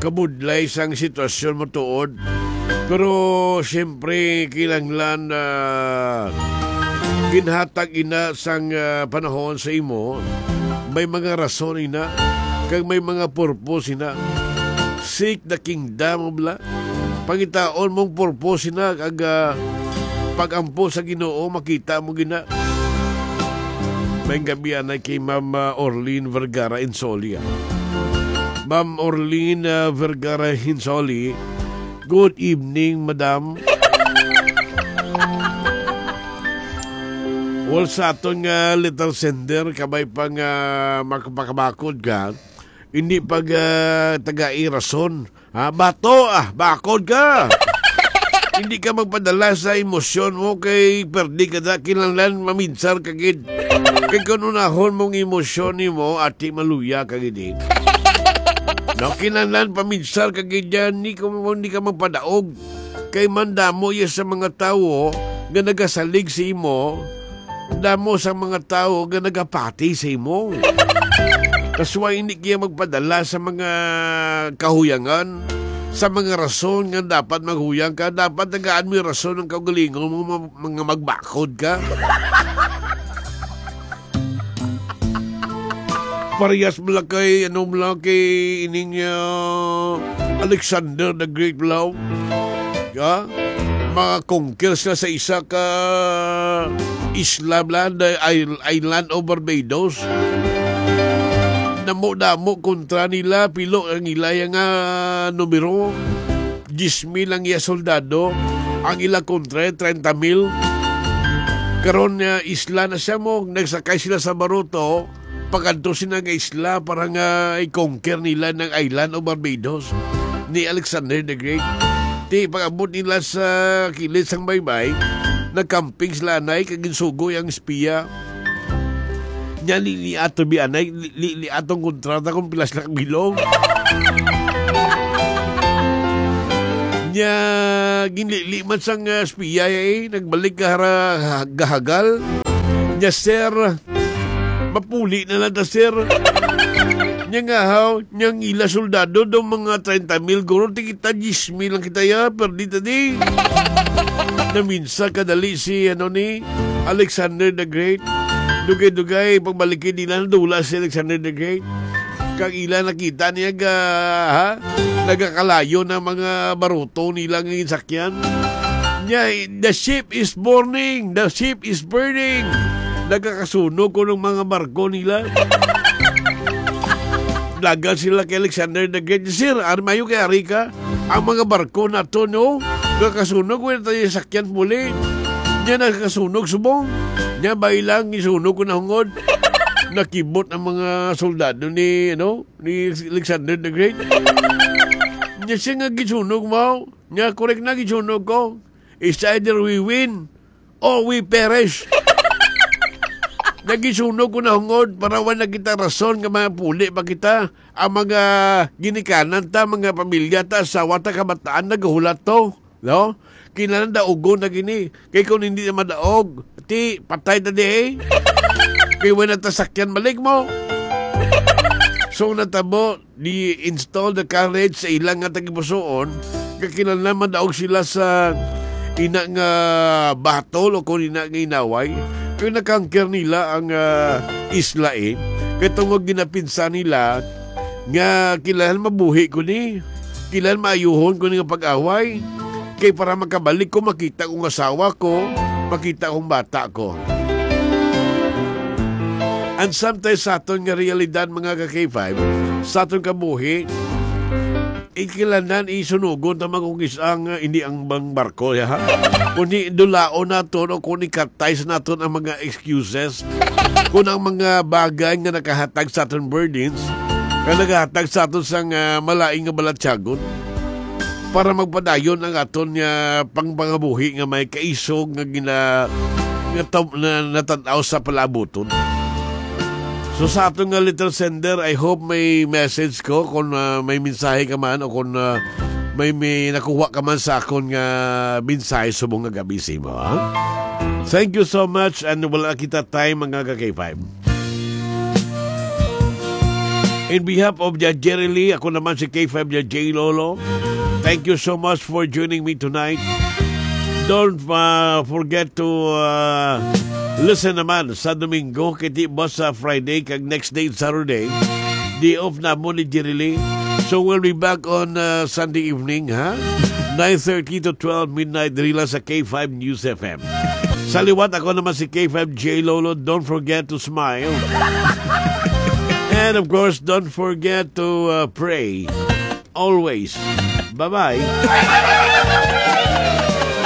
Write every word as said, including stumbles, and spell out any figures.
mabudlay sang sitwasyon mo tuod. Pero siyempre, kinahanglan na ginhatag ina sang, ah, panahon sa imo. May mga rason ina, kag may mga purpose ina. Seek the kingdom of la-, pangitaon mong purpose ina, kag, ah, pag-ampo sa Ginoo, makita mo gina. May gabi anay kay Ma'am, ah, Orlene Vergara Insoli, ah. Ma'am Orlene, ah, Vergara Hinsoli, good evening, madam. Well, sa aton nga letter sender, kabay pa nga mak-, makabakod ka, hindi pag, ah, tagai rason. Ha, bato, ah, bakod ka. Hindi ka magpadala sa emosyon mo kay perdi ka na, kinahanglan maminsar ka gid. Kay kung unahon mong emosyon nimo, ati maluya ka gid, eh. No, kinahanglan paminsar ka gid yan, ni kung hindi ka magpadaog. Kay mandamo iya sa mga tawo nga nagasalig sa imo, damo sa mga tawo nga nagapati sa imo. Kasway hindi kaya magpadala sa mga kahuyangan, sa mga rason nga dapat maghuyang ka, dapat tagaan mo yung rason ang kaugalingon mo, ma-, mga magbakod ka. Parehas mo lang kay, ano mo lang kay ining, ah, Alexander the Great, bro. Ya? Mga conquer sila sa isa ka isla, bla, the isl-, island of Barbados. Damo-damo kontra nila, pilo ang ila nga numero. Diyes mil ang iya soldado, ang ila kontra, treinta mil. Karon nga isla na siya mo, nagsakay sila sa baruto, pakadto sila nga isla para nga i-conquer nila ng island of Barbados ni Alexander the Great. Ti, pag-abot nila sa kilid sang baybay, nagkamping sila anay, kag ginsugoy ang espiya. Nya, lili ato bi anay, li-, li-, li atong kontrata kung pila sila kabilog. Nya, ginlili man sang, ah, espiya, eh, nagbalik ka hara-, gahagal. Nya, sir, mapuli na lang ta, sir. Nya nga, haw, nya ang ila soldado daw mga treinta mil, guro, ti kita diyes mil lang kita, ya, perdi ta di. Naminsa kadali si, ano, ni Alexander the Great. Dugay-dugay, pagbalik nila, nadula si Alexander the Great. Kag ila nakita niya ga, ha? Nagakalayo na mga baruto nila nga ginsakyan. Nya, "The ship is burning! The ship is burning!" Nagakasunog ko ng mga barko nila. Dagan sila kay Alexander the Great. "Sir, ari mayo kay ari ka. Ang mga barko nato, no? Nagakasunog, wala tayo sakyan muli. Nya nagakasunog subong. Nya bailang isunog ko na hungod." Nakibot ang mga soldado ni, ano, ni Alexander the Great. Nya siya nga gisunog mo. Nya, correct na, gisunog ko. It's either we win or we perish. Nagisunog ko na hungod para wala kita rason nga mapuli pa kita. Ang mga ginikanan ta, mga pamilya ta, asawa ta, kabataan, nagahulat to. No? Kinahanglan daogon na gini. Kay kung hindi na madaog, ti patay ta di, eh. Kay wala ta sakyan balik mo. So, natabo, di install the courage sa ilang nga tagipusoon, nga kinahanglan madaog sila sa ina nga battle o kung ina nga inaway. Kay nakangker nila ang, ah, isla, eh. Kay tungod ginapinsa nila nga kinahanglan mabuhi ko ni. Kinahanglan maayuhon ko ni nga pag-away. Kay para makabalik ko, makita kong asawa ko, makita kong bata ko. And sometimes sa aton nga realidad, mga ka-K five, sa aton kabuhi, ikilanan, isunugon ta magkugis ang, uh, hindi ang bang barko, ya, ha? Kundi dulaon naton o kung ikatay sa naton ang mga excuses, kung ang mga bagay nga nakahatag sa aton burdens, nga nakahatag sa aton sang, uh, malain nga balatyagon, para magpadayon ang aton nga pangpangabuhi nga may kaisog nga gina-, nga tam-, na, natan-aw sa palabuton. So, sa aton nga letter sender, I hope may message ko kung, ah, may mensahe ka man o kung, ah, may, may nakuha ka man sa akon nga mensahe subong nga gabi sa imo, ha? Thank you so much, and wala kita time, mga ka-K five. In behalf of the Jerry Lee, ako naman si K five the J Lolo. Thank you so much for joining me tonight. Don't uh, forget to uh, listen naman sa Domingo, kay di ba sa Friday, kag next day, Saturday, day off na mo ni Jerry Lee. So we'll be back on uh, Sunday evening, ha? Nine thirty to twelve midnight, diri lang sa K five News F M. Sa liwat, ako naman si K five J Lolo. Don't forget to smile. And of course, don't forget to uh, pray. Always. Bye-bye.